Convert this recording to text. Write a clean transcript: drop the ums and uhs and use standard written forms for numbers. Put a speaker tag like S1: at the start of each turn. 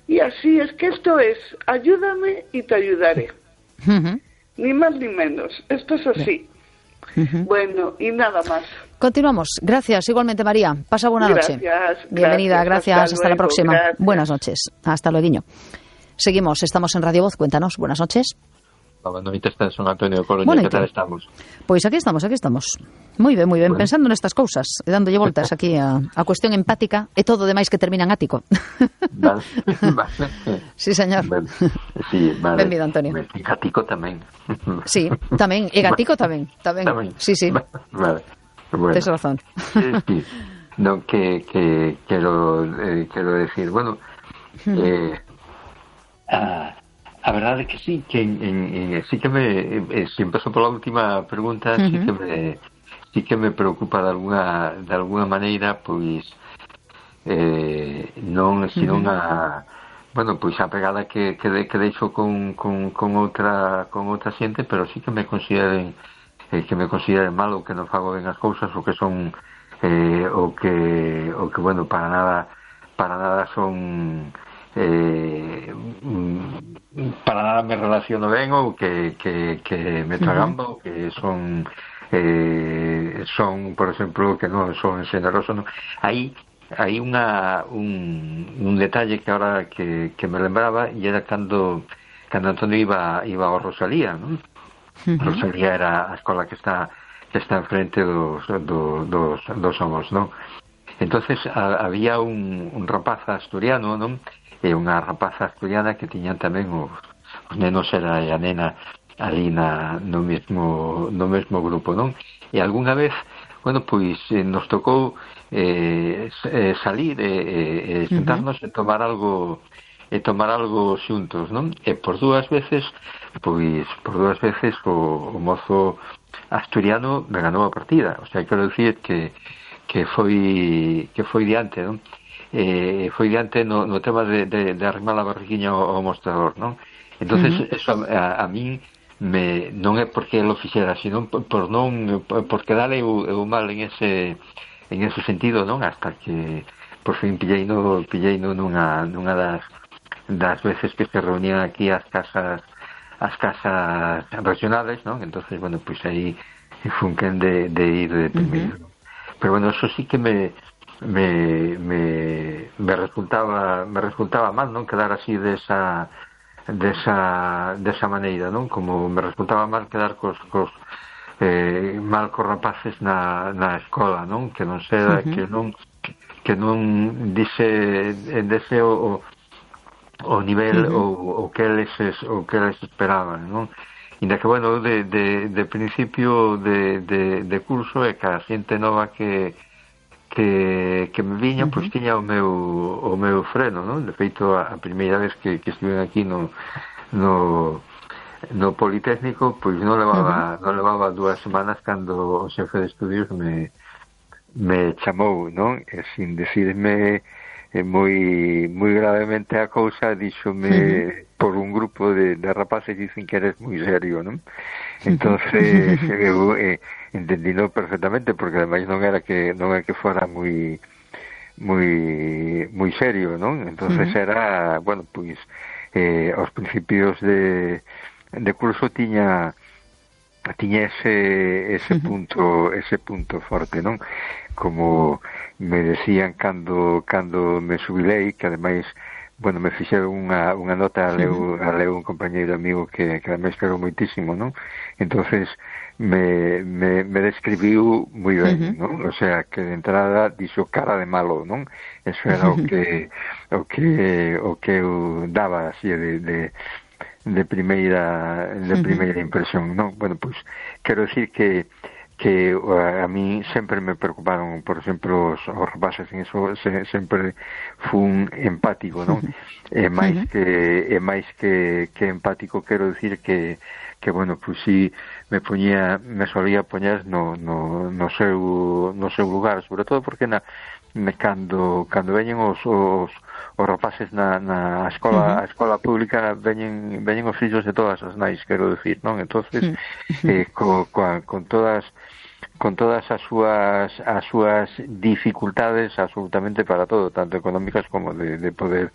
S1: Y así es que esto es, ayúdame y te ayudaré. Ni más ni menos, esto es así. Bueno, y nada más.
S2: Continuamos. Gracias, igualmente, María. Pasa buena noche. Bienvenida, gracias. Hasta la próxima. Gracias. Buenas noches. Hasta luego. Seguimos, estamos en Radio Voz. Cuéntanos. Buenas noches.
S3: Boa noite, está en San Antonio de Colonia. Que tal estamos?
S2: Pois aquí estamos. Moi ben, bueno. Pensando nestas cousas, e dándolle voltas aquí a cuestión empática, e todo demais que termina en ático.
S3: Vale.
S2: Sí, señor.
S3: Vale. Sí, vale.
S2: Benvido, Antonio.
S3: E gatico tamén.
S2: Sí, tamén, e gatico tamén. Sí.
S3: Vale. Bueno.
S2: Tes razón.
S3: Sí. No, que quero decir, bueno, a verdade é que sí, que sí que si empezó por la última pregunta, sí que me preocupa de alguna maneira, pois non bueno, pois a pegada que deixo con outra xente, pero sí que me consideren mal, ou que non fago ben as cousas, ou que son o que bueno, para nada son para nada me relaciono ben, ou que me tragamba, ou que son, por exemplo, que non son xeneroso, non. Aí un detalle que ahora que me lembraba, e era cando Antonio iba ao Rosalía, non? Rosalía era a escola que está enfrente dos Somos, non? Entonces había un rapaz asturiano, non? E unha rapaza asturiana que tiñan tamén os nenos era a nena ali no mesmo grupo, non? E algunha vez, bueno, pois nos tocou salir e sentarnos e tomar algo xuntos, non? E por dúas veces o mozo asturiano me ganou a partida, o sea, quero dicir que foi diante, non? Foi diante no tema de arrimar a barriguinha ao mostrador, non? Entonces eso a min non é porque lo fixera, sino por quedar eu mal en ese sentido, non? Hasta que por fin pilleino nunha das veces que se reunían aquí as casas regionales, non? Entonces, bueno, pois aí funquen de ir de primeiro. Pero bueno, eso sí que me resultaba mal, non? Quedar así desa maneira, non? Como me resultaba mal quedar cos rapaces na escola, non? Que non seda, que non dese o nivel o que eles esperaban, non? Inda que, bueno, de principio de curso, e cada xente nova que me viña, pois tiña o meu freno, non? De feito, a primeira vez que estive aquí no Politécnico, pois non levaba 2 semanas cando o xefe de estudios me chamou, non? E sin decirme moi gravemente a cousa, díxome por un grupo de rapaces, dicen que eres moi serio, non? Entonces eu entendino perfectamente, porque ademais non é que fora moi serio, non? Entonces era, bueno, pois aos principios de curso tiña ese punto forte, non? Como me decían cando me xubilei, que ademais, bueno, me fixeron unha nota a leu un compañeiro amigo que ademais quero moitísimo, non? Entonces me describiu moi ben, non? O sea, que de entrada dixo cara de malo, non? Eso era o que eu daba así de primeira impresión, non? Bueno, pois quero decir que a mí sempre me preocuparon, por exemplo, os rapaces, en eso sempre fun empático, non? E máis que empático, quero decir que bueno, pois si me solía poñer no seu lugar, sobre todo porque cando veñen os rapaces na escola, a escola pública, veñen os fillos de todas as nais, quero decir, non? Entonces, con todas as súas dificultades absolutamente para todo, tanto económicas como de poder